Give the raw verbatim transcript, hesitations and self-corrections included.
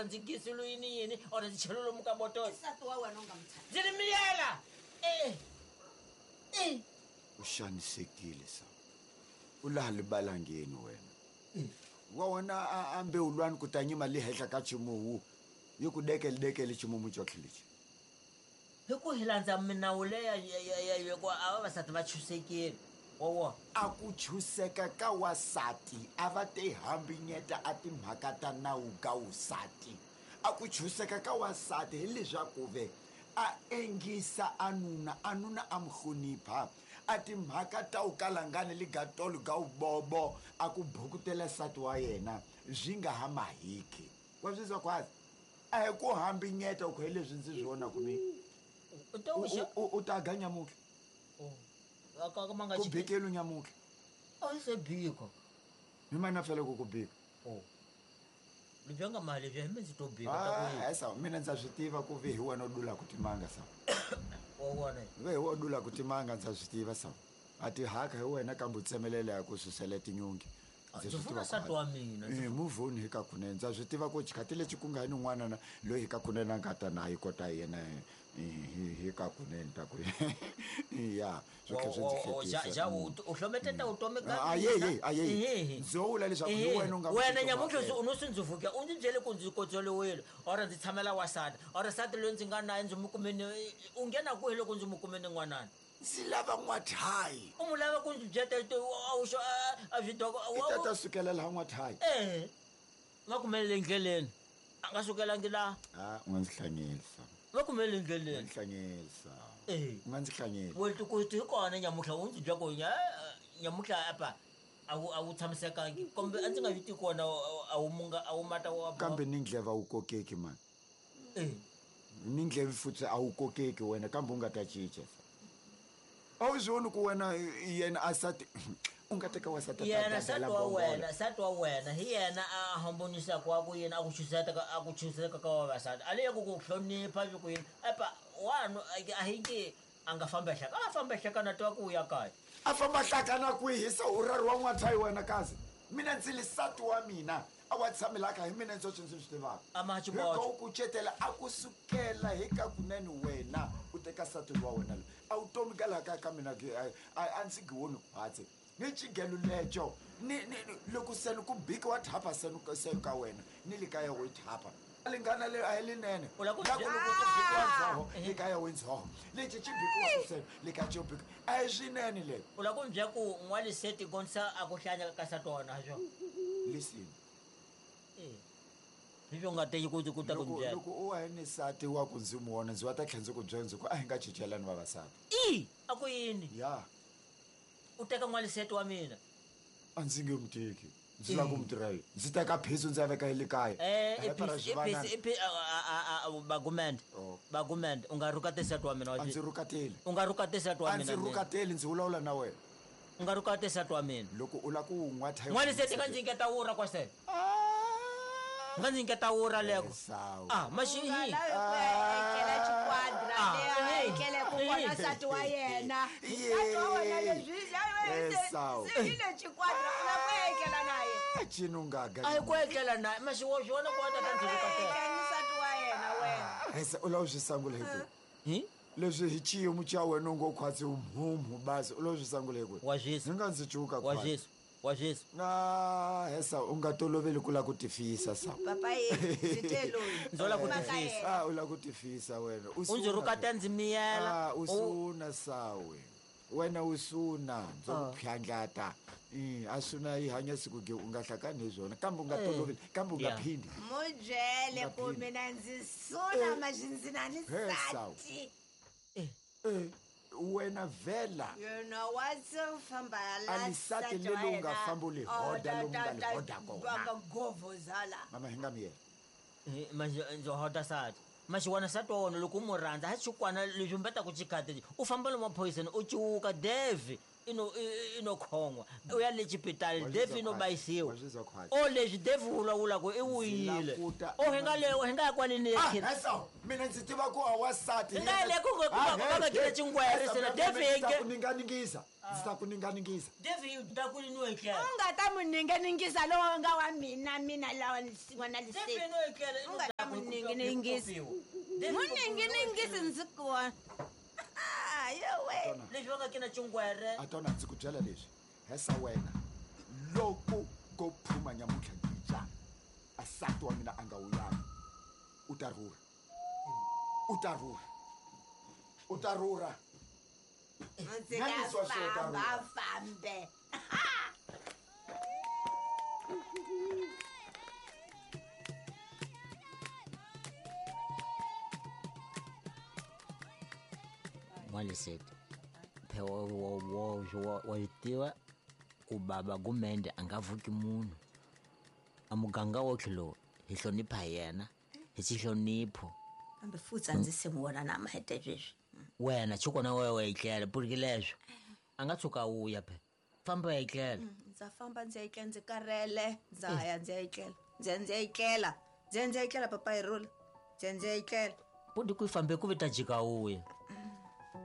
Ndzi gisulu yini yini or ndzi chelo lomu ka botolo. Nsati wa wena u nga n'wi Ndzi ri miyela. Eh. Eh. U xanisekile sa. U laha libalangeni wena. Wa wona a a mbewulwani ku ta nyima le henhla ka ximuwu. Yi ku dekele dekele ximumu xotlhe lexi. Hi ku hi landza minawu leya ya ya ya ya ku a vavasati va chusekile. Wa vona. A ku chuseka ka wasati a va te hambinyeta a timhaka ta nawu ka wusati. A ku chuseka ka wasati hileswaku ve a engisa a nuna, a nuna a mu hlonipha. A timhaka ta wu kalangani ligatolo ga wu bobo a ku bukutela nsati wa yena swi nga ha mahiki. Wa swi twa khwazi? A hi ku hambinyeta ku hi leswi ndzi swi vonaka mina. U ta U, wu xa- u, u ta ga nyamutlha. Oh. A ka ka ma nga Ku xi- bikelu nyamutlha. A se bika. Mi mana fela ku ku bika. Oh. Lebyi nga mali lebyi hi mina ndzi to bika ta ku Ah, yini. esa mina ndza swi tiva ku ve hi wena u dulaka timanga sa. Wa vona. Ve hi wena u dulaka timanga ndza swi tiva sa. A ti haka hi wena kambe u tsemelela ya ku susela tinyungi. Ndzi Ndzi swi funa tiva nsati ku wa mina, ndzi Eh, move on hi ka kunene. Ndza swi tiva ku xikhathi lexi ku nga ni n'wana na loyi hi ka kunene a nga ta na yi kota yena, eh, hi, hi ka kunene ta ku. Ya, swi tlhela swi ndzi Wa- wa- ja- hlekisa. ja, u u hlometeta vutomi ka Ah, mina. ye, ye, a ye, ye. Ehe. Ndzo vula leswaku hi Ehe. wena u nga Wena n'wi nyamuntlha titwa u no swi ndzi vuka, u ndzi byele ku ndzi kotsoliwile, or ndzi tshamela wasati, or nsati loyi ndzi nga naye ndzi n'wi kumile, u nghena kwihi loko ndzi n'wi kumile n'wanana? Ndzi lava n'wathayi. U n'wi lava ku ndzi byela te, a wu xo, a, a swi doko, a I ta wu- ta sukela laha n'wathayi. Eh, va kumelele endleleni. A nga sukelangi laha. Ah, u nga ndzi hlanyisa. Va kumelele U nga endleleni. ndzi hlanyisa. Eh. U nga ndzi hlanyisa. Wena ku ti hi kona nyamuntlha u ndzi byela ku nya, nyamuntlha apa a wu, a wu tshamisekangi. Kambe a ndzi nga yi tivi kona, a wu munga, a wu mata wa- Kambe ni ndleva wu kokeki mani. Eh. Ni ndleve futhi a wu kokeki wena kambe u nga ta cinca. A wu swi voni ku wena yena a sati u nga teka wasati a ta Yena dadela nsati wa mbhongolo. wena, nsati wa wena hi yena a hambonisaka wa ku yini a ku chuseta ka, a ku chuseka ka vavasati. A le ya ku ku hlonipha swi ku yini. Epa, wanu, a hi nge a nga famba hlaka. A famba hlaka na twa ku ya kaya. A famba hlaka na kwihi se u rari wa n'wathayi wena kazi? Mina ndzi li nsati wa mina a wa tshamelaka hi mina ndzi ndzi swi tivaka. A ma Hi xiboho. ku kucetela a ku sukela hi ka kunene wena u teka nsati wa wena loyi. A wu tomi ka laha ka ka mina ke, a, a, a ndzi gi woni khwatsi. Ni xigelo lexo, ni, ni, ni, loko se ni ku bika wa thapa se ni ka, se ka wena, ni le kaya wo thapa. Lingana le a hi linene. U lava ku La ku bya- loko ku bikiwa ndzhoho, Ah! le kaya wo ndzhoho. Lexi xi bikiwaka se, le ka xo bika. A hi swinene le. U lava ku ni byela ku n'waliseti gonisa a ku hlanya ka nsati wa wena, ha swona? Listen. Eh. Hi swo nga teki ku ku ta ku Loko, byela. loko u wa ni nsati wa ku ndzi n'wi vona, ndzi wa ta tlhela ndzi ku byela ndzi ku a hi nga cincelani vavasati. I, a ku yini? Ya. U teka n'waliseti wa mina. A ndzi nge n'wi teki. Ndzi lava ku n'wi tirha yini? Ndzi teka phiso ndzi ya veka le kaya. Eh, A hi i para phisi, i swivanana. phisi, i phi-, a, a, a, a, Bagumende. Oh. Bagumende, u nga rhukati nsati wa mina wa A ndzi xi- rhukateli. U nga rhukati nsati wa A ndzi mina mina. rhukateli, ndzi vulavula na wena. U nga rhukati nsati wa mina. Loko u lava ku n'wa thayi N'waliseti nga ndzi nyiketa wura kwasele. Ah! Nga ndzi nyiketa wura leko. Esawu. Ah, maxi U nga hi. lavi ku ya etlela xikwadra Ah, leyi a eh, etlele ku eh. vona nsati wa yena. Ye. Nsati wa wena leswi, se, Esawu. se yi le xikwadra, u lava ku ya etlela na yena. Ah, cini u nga ga. A hi ku etlela na yena. Maxi wa swi vona ku wa ta ta ndzi rhukatela. Etlela ni nsati wa yena wena. Esa, u lava ku swi sangula hi kwihi? Hi? Leswi hi xiyimo xa wena u ngo khwatsi mhumhu basi, u lava ku swi sangula hi kwihi? Wa swisa. Ndzi nga ndzi cuka Wa khwatsi. swisa. Wa swisa. Ah, Hesa, u nga toloveli ku lava ku tifisa sa. Papa ye, ndzi te loyi. Ndzo lava ku Mhaka tifisa. yena. Ah, u lava ku tifisa wena. U U ndzi suna rhukatela ndzi miyela. Ah, u U- suna sawe. Wena u suna, ndzo ku Ah. phyandlata. Eh, a suna yi hanya siku ge u nga hlakani hi swona, kambe u nga Eh. toloveli, kambe u nga Yeah. phindi. Mu byele Nga ku phindi. mina ndzi suna maxi ndzi na ni He, sawu. nsati. Eh. Eh, wena vhela. Yena wa se u famba la A lisati nsati leli wa u nga yena. famba u li Oh, hoda ta, lomu ta, nga li ta, hoda kona. va nga govozala. Mama, hi nga miyela. Eh, maxi, ndzo hoda nsati. Maxi wena nsati wa wena loko u n'wi rhandza, ha xikwana leswi mbetaka xikhati, u famba lomu maphoyiseni, u cuka Devi i no, i, i, i no khon'wa. U ya le xipitali, Wa swi Devi i no twa khwatsi. bayisiwa. Wa swi twa khwatsi. O leswi Devi u vulavulaka i Ndzi wuyile. languta O hi nga le, hi nga ya kwale ni Ah, khini. Hesa, mina ndzi tiva ku a wasati. Hi nga ya le ku nga- ku nga- Ah, ku nga he, kile he. xingwere Hesa, se na mina Devi ndzi ta hi ku nge- ninganingisa. Ndzi ta ku ninganingisa. Devi yi ta ku ni etlela. U nga ta n'wi ninganingisa lowu nga wa mina, mina lawa n'wana Devi Liseti. no etlela, i U no nga Ninginingisi. Muninginingisi ndzi kona. Yowe. Leswi va nga ke na cungwere. A tona ndzi ku byela leswi. Hesa wena. Loko ko phuma nyamuntlha ngija. Asati wa mina a nga wuyanga. U ta rhurha. U ta rhurha. U ta rhurha. Ndzi Nyanisiwa ta swo ta famba rhurha. fambe. N'waliseti phe wa wa wa wa wa yi tiva ku baba Gumende a nga vuki munhu. A muganga wotlhe lowu hi hlonipha yena hi xihlonipho. Kambe futhi a ndzi se n'wi vona na mahete sweswi. Wena chukona wewe wa etlela puriki leswo a nga tshuka wuya phe famba ya etlela. Ndza famba ndzi ya etlela ndzi karhele ndza ya ndzi ya etlela ndzi ya ndzi ya etlela ndzi ya ndzi ya etlela papa hi rhula ndzi ya ndzi ya etlela. Pudi ku yi fambe ku vi ta jika wuya.